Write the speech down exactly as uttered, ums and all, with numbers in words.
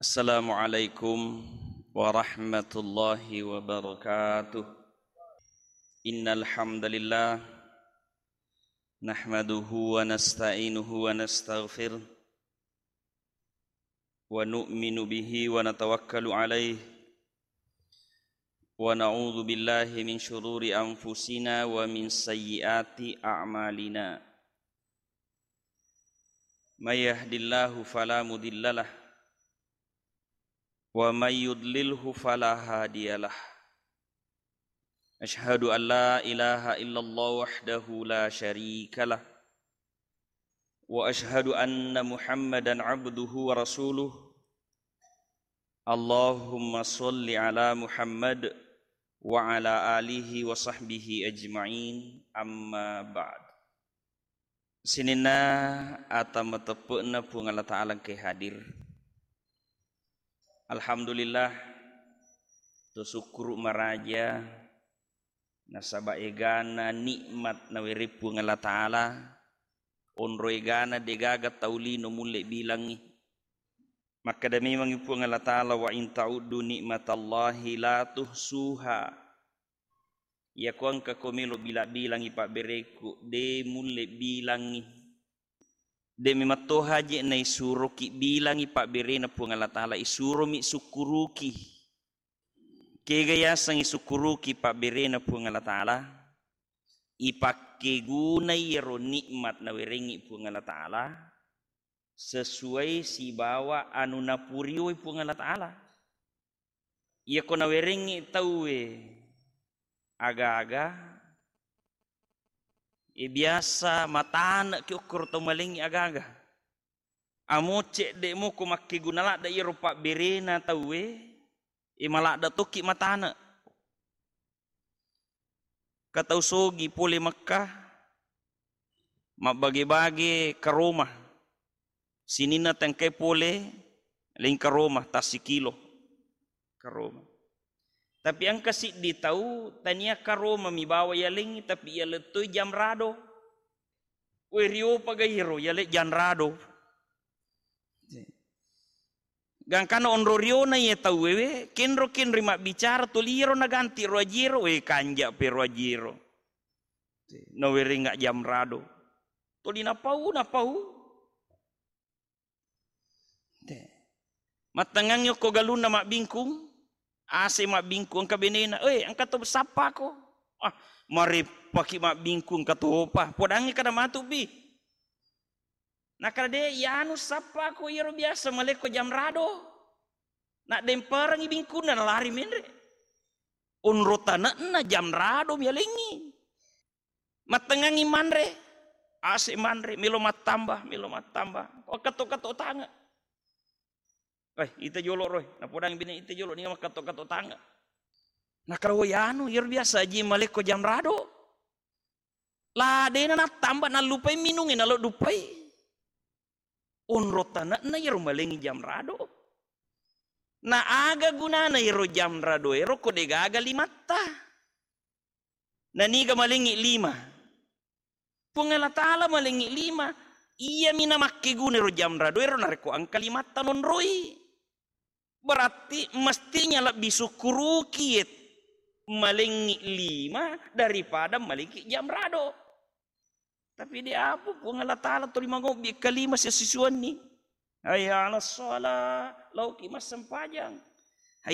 Assalamualaikum warahmatullahi wabarakatuh. Innal hamdalillah, nahmaduhu wa nasta'inuhu wa nastaghfiruh, wa nu'minu bihi wa natawakkalu alaih, wa na'udzu billahi min syururi anfusina wa min sayyiati a'malina. May yahdillahu fala mudhillalah, wa may yudlilhu fala hadiyalah. Asyhadu an la ilaha illallah wahdahu la syarikalah, wa asyhadu anna Muhammadan abduhu wa rasuluh. Allahumma shalli ala Muhammad wa ala alihi wa sahbihi ajma'in, amma ba'd. Sininna ata mateppe'na Puang Allah Ta'ala engkae hadir. Alhamdulillah, to sukkuru maraja nasaba egana nikmat nawereng Puang Allah Ta'ala, onro egana degaga tau lino mulle bilangngi. Makkeda memangngi Puang Allah Ta'ala, "Wa in ta'uddu ni'matallahi la tuhsuha." Iyako engkako melo bila-bilangngi pabberekku, de mulle bilangngi. De memetto haji naisuroki bilangngi pabberena Puang Allah Ta'ala, isuromi sukkuruki. Kega yaseng isukkuruki pabberena Puang Allah Ta'ala? Ipakkegunai iyaro nikmat nawerengngi Puang Allah Ta'ala sesuai sibawa anu napurioi Puang Allah Ta'ala. Iyako nawerengngi tauwe aga-aga, e, biasa matane'ki okkoro tau malengngi aga-aga. Amo cedde' moko makkeguna ladde' iyaro pabberena tauwe, e, maladde' tokki matane'. Ka tau sogi pole Mekka, mabbage-bage karoma. Sininna tengkai pole leng karoma, tassikilo karoma. Tapi engka siddi tau tania karoma mi bawa yalengngi, tapi yalettoi jamrado. We, riopa gairo yale jamrado. Gangkana onro riona iye tauwe we, kenro-kenroi mabbicara, toli iyaro naganti ro ajiero, we, kanja pe ro ajiero. Nawerengnga jamrado. Toli napau, napau. Te. Mattengngangngi okko galunna mabbingkung, ase mabbingkung engka benena, "Eh, engka to sappako." Ah, mareppaki mabbingkung engka topa, podangngi kada matu bi. Nakada de, iyanu sappako iyaro biasa malekko jamrado. Naddemperengngi bingkunna nalari menre. Onro tane'na jamrado mialengngi. Mattengngangngi manre, ase manre, melo mattamba, melo mattamba. Wakkatto-katto tange. Eh, ita jolo roe, napodang bine ita jolo ninga makkatto-katto tange. Nakaro yanu, iyaro biasa aji malekko jamrado. La dena nattamba, nallupai minungnge, nalo duppai. Onro tane'na iyaro malengngi jamrado. Na aga gunana iyaro jamrado ero ko degaga limatta? Naniga malengngi lima? Puang Allah Ta'ala malengngi lima. Iyami namakkeguna ero jamrado ero narekko engka limatta nonroi. Berarti mestinya lebbi sukkuruki ye malengngi lima daripada malengngi jamrado. Tapi de apa Puang Allah Ta'ala tuli mangobbi kalima sessusuanni. Hayya 'alas shalah, laoki massempajang.